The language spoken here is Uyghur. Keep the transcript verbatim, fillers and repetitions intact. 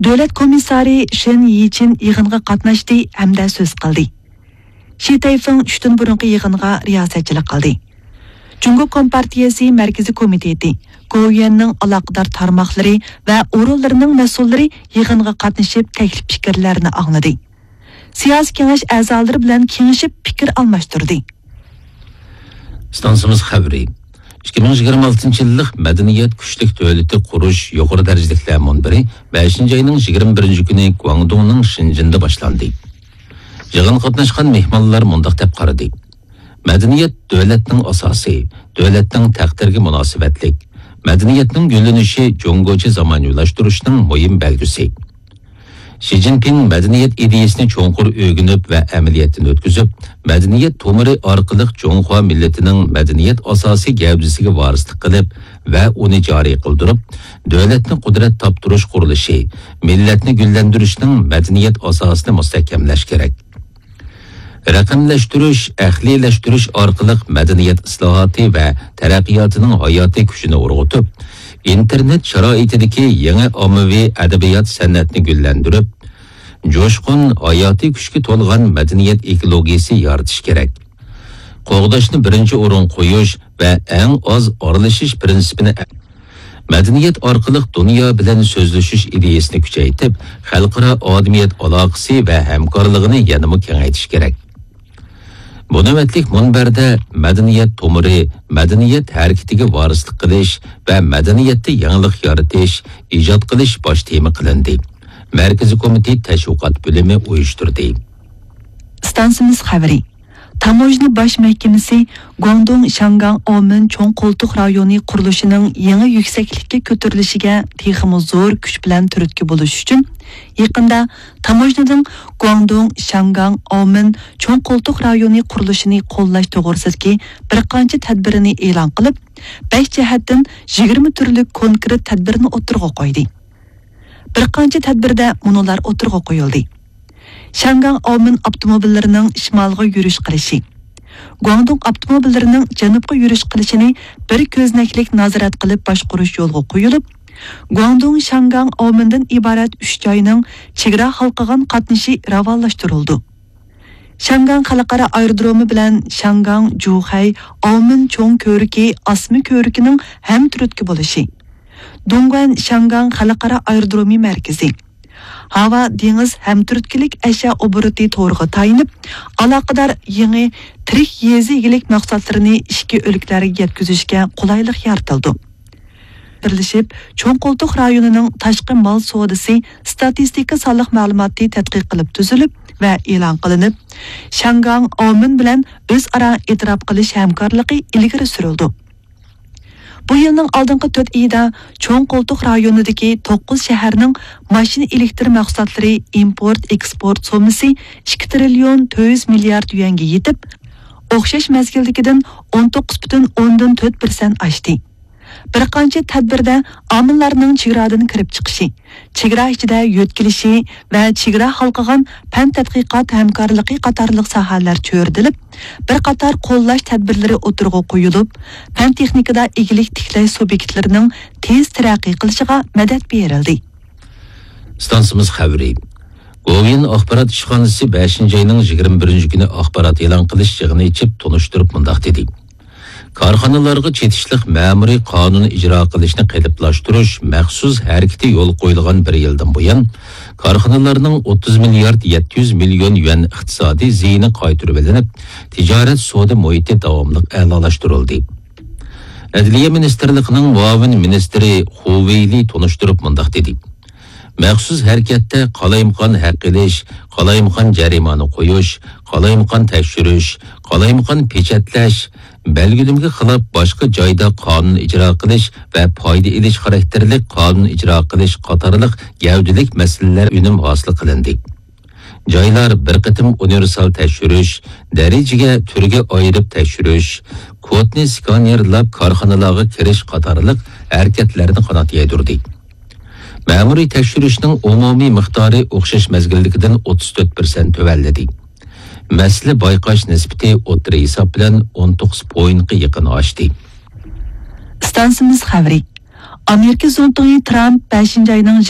دۆلەت كومىسسارى شېن يىچىن يىغىنغا قاتناشتى ھەمدە سۆز قىلدى. شى تەيفېڭ چۈشتىن بۇرۇنقى يىغىنغا رىياسەتچىلىك قىلدى. جۇڭگو كومپارتىيەسى مەركىزىي كومىتېتى، گوۋۇيۈەننىڭ ئالاقىدار تارماقلىرى ۋە ئورۇنلىرىنىڭ مەسئۇللىرى يىغىنغا قاتنىشىپ، تەكلىپ پىكىرلەرنى ئاڭلىدى. سىياسىي كېڭەش ئەزالىرى بىلەن كېڭىشىپ پىكىر ئالماشتۇردى. ئىستانسىمىز خەۋىرى. ئىككى مىڭ يىگىرمە ئالتىنچى يىللىق مەدەنىيەت كۈچلۈك دۆلىتى قۇرۇش يۇقىرى دەرىجىلىكلەر مۇنبىرى بەشىنچى ئاينىڭ يىگىرمە بىرىنچى كۈنى گۇاڭدۇڭنىڭ شېنجېندا باشلاندى. يىغىنغا قاتناشقان مېھمانلار مۇنداق دەپ قارىدى: مەدەنىيەت دۆلەتنىڭ ئاساسى، دۆلەتنىڭ تەقدىرىگە مۇناسىۋەتلىك. مەدەنىيەتنىڭ گۈللىنىشى جۇڭگوچە زامانىۋىلاشتۇرۇشنىڭ مۇھىم بەلگىسى. شى جىنپىڭ مەدەنىيەت ئىدىيەسىنى چوڭقۇر ئۆگىنىپ ۋە ئەمەلىيەتتىن ئۆتكۈزۈپ، مەدەنىيەت تومۇرى ئارقىلىق جۇڭخۇا مىللىتىنىڭ مەدەنىيەت ئاساسىي گەۋدىسىگە ۋارىسلىق قىلىپ ۋە ئۇنى جارى قىلدۇرۇپ، دۆلەتنى قۇدرەت تاپتۇرۇش قۇرۇلۇشى، مىللەتنى گۈللەندۈرۈشنىڭ مەدەنىيەت ئاساسىنى مۇستەھكەملەش كېرەك. رەقەملەشتۈرۈش، ئەقلىيلەشتۈرۈش ئارقىلىق مەدەنىيەت ئىسلاھاتى ۋە تەرەققىياتىنىڭ ھاياتىي كۈچىنى ئۇرغۇتۇپ، ئىنتېرنېت شارائىتىدىكى يېڭى ئاممىۋى ئەدەبىيات سەنئەتنى گۈللەندۈرۈپ، جۇشقۇن، ھاياتىي كۈچكە تولغان مەدەنىيەت ئېكولوگىيىسى يارىتىش كېرەك. قوغداشنى بىرىنچى ئورۇنغا قويۇش ۋە ئەڭ ئاز ئارىلىشىش پىرىنسىپىنى، مەدەنىيەت ئارقىلىق دۇنيا بىلەن سۆزلىشىش ئىدىيەسىنى كۈچەيتىپ، خەلقئارا ئادەمىيەت ئالاقىسى ۋە ھەمكارلىقىنى يەنىمۇ كېڭەيتىش كېرەك. بۇ نۆۋەتلىك مۇنبەردە مەدەنىيەت تومۇرى، مەدەنىيەت ھەرىكىتىگە ۋارىسلىق قىلىش ۋە مەدەنىيەتتە يېڭىلىق يارىتىش، ئىجاد قىلىش باش تېما قىلىندى. مەركىزىي كومىتېت تەشۋىقات بۆلۈمى ئۇيۇشتۇردى. ئىستانسىمىز خەۋىرى. تاموژنا باش مەھكىمىسى گۇاڭدۇڭ شياڭگاڭ ئاۋمېن چوڭ قولتۇق رايونى قۇرۇلۇشىنىڭ يېڭى يۈكسەكلىككە كۆتۈرۈلۈشىگە تېخىمۇ زور كۈچ بىلەن تۈرتكە بولۇش ئۈچۈن، يېقىندا تاموژنىدىن گۇاڭدۇڭ شياڭگاڭ ئاۋمېن چوڭ قولتۇق رايونى قۇرۇلۇشىنى قوللاش توغرىسىدىكى بىر قانچە تەدبىرىنى ئېلان قىلىپ، بەش جەھەتتىن يىگىرمە تۈرلۈك كونكرېت تەدبىرنى ئوتتۇرىغا قويدى. بىر قانچە تەدبىردە مۇنۇلار ئوتتۇرىغا قويۇلدى. شياڭگاڭ ئاۋمېن ئاپتوموبىللىرىنىڭ شىمالغا يۈرۈش قىلىشى، گۇاڭدۇڭ ئاپتوموبىللىرىنىڭ جەنۇبقا يۈرۈش قىلىشىنى بىر كۆزنەكلىك نازارەت قىلىپ باشقۇرۇش يولغا قويۇلۇپ، گۇاڭدۇڭ شياڭگاڭ ئاۋمېندىن ئىبارەت ئۈچ جاينىڭ چېگرا ھالقىغان قاتنىشى راۋانلاشتۇرۇلىدۇ. شياڭگاڭ خەلقئارا ئايرودرومى بىلەن شياڭگاڭ جۇخەي ئاۋمېن چوڭ كۆۋرۈكى ئاسما كۆۋرۈكىنىڭ ھەمتۈرتكە بولۇشى، دۇڭگۇەن شياڭگاڭ خەلقئارا ئايرودرومى مەركىزى، ھاۋا دېڭىز ھەمتۈرتكىلىك ئەشيا ئوبوروتى تورىغا تايىنىپ، ئالاقىدار يېڭى تىرىك يېزا ئىگىلىك مەھسۇلاتلىرىنى ئىچكى ئۆلكىلەرگە يەتكۈزۈشكە قولايلىق يارىتىلىدۇ. بىرلىشىپ، چوڭ قولتۇق رايونىنىڭ تاشقى مال سودىسى ستاتىستىكا سانلىق مەلۇماتى تەتقىق قىلىپ تۈزۈلۈپ ۋە ئېلان قىلىنىپ، شياڭگاڭ ئاۋمېن بىلەن ئۆزئارا ئېتىراپ قىلىش ھەمكارلىقى ئىلگىرى سۈرۈلىدۇ. بۇ يىلنىڭ ئالدىنقى تۆت ئېيىدا چوڭ قولتۇق رايونىدىكى توققۇز شەھەرنىڭ ماشىنا ئېلېكتر مەھسۇلاتلىرى ئىمپورت، ئېكسپورت سوممىسى ئىككى تىرىليون تۆت يۈز مىليارد يۈەنگە يېتىپ، ئوخشاش مەزگىلدىكىدىن ئون توققۇز پۈتۈن ئوندىن تۆت پىرسەنت ئاشتى. بىر قانچە تەدبىردە ئامىللارنىڭ چېگرادىن كىرىپ چىقىشى، چېگرا ئىچىدە يۆتكىلىشى ۋە چېگرا ھالقىغان پەن تەتقىقات ھەمكارلىقى قاتارلىق ساھەلەر چۆرىدىلىپ، بىر قاتار قوللاش تەدبىرلىرى ئوتتۇرىغا قويۇلۇپ، پەن تېخنىكىدا ئىگىلىك تىكلەش سۇبيېكتلىرىنىڭ تېز تەرەققىي قىلىشىغا مەدەت بېرىلدى. ئىستانسىمىز خەۋىرى. گوۋۇيۈەن ئاخبارات ئىشخانىسى بەشىنچى ئاينىڭ يىگىرمە بىرىنچى كۈنى ئاخبارات ئېلان قىلىش يىغىنى ئېچىپ تونۇشتۇرۇپ مۇنداق دېدى: كارخانىلارغا چېتىشلىق مەمۇرىي قانۇن ئىجرا قىلىشنى قېلىپلاشتۇرۇش مەخسۇس ھەرىكىتى يولغا قويۇلغان بىر يىلدىن بۇيان، كارخانىلارنىڭ ئوتتۇز مىليارد يەتتە يۈز مىليون يۈەن ئىقتىسادىي زىيىنى قايتۇرۇۋېلىنىپ، تىجارەت سودا مۇھىتى داۋاملىق ئەلالاشتۇرۇلدى. ئەدلىيە مىنىستىرلىقىنىڭ مۇئاۋىن مىنىستىرى خۇ ۋېيلى تونۇشتۇرۇپ مۇنداق دېدى: مەخسۇس ھەرىكەتتە قالايمىقان ھەق ئېلىش، قالايمىقان جەرىمانە قويۇش، قالايمىقان تەكشۈرۈش، قالايمىقان پېچەتلەش، بەلگىلىمىگە خىلاپ باشقا جايدا قانۇن ئىجرا قىلىش ۋە پايدا ئېلىش خاراكتېرلىك قانۇن ئىجرا قىلىش قاتارلىق گەۋدىلىك مەسىلىلەر ئۈنۈم ھاسىل قىلىندى. جايلار بىر قېتىم ئۇنىۋېرسال تەكشۈرۈش، دەرىجىگە، تۈرگە ئايرىپ تەكشۈرۈش، كودنى سكانېرلاپ كارخانىلارغا كىرىش قاتارلىق ھەرىكەتلەرنى قانات يايدۇردى. مەمۇرىي تەكشۈرۈشنىڭ ئومۇمىي مىقدارى ئوخشاش مەزگىلدىكىدىن ئوتتۇز تۆت پىرسەنت تۆۋەنلىدى. مەسىلە بايقاش نىسبىتى ئوتتۇرا ھېساب بىلەن ئون توققۇز پوينتقا يېقىن ئاشتى. ئىستانسىمىز خەۋىرى. ئامېرىكا زۇڭتۇڭى ترامپ بەشىنچى ئاينىڭ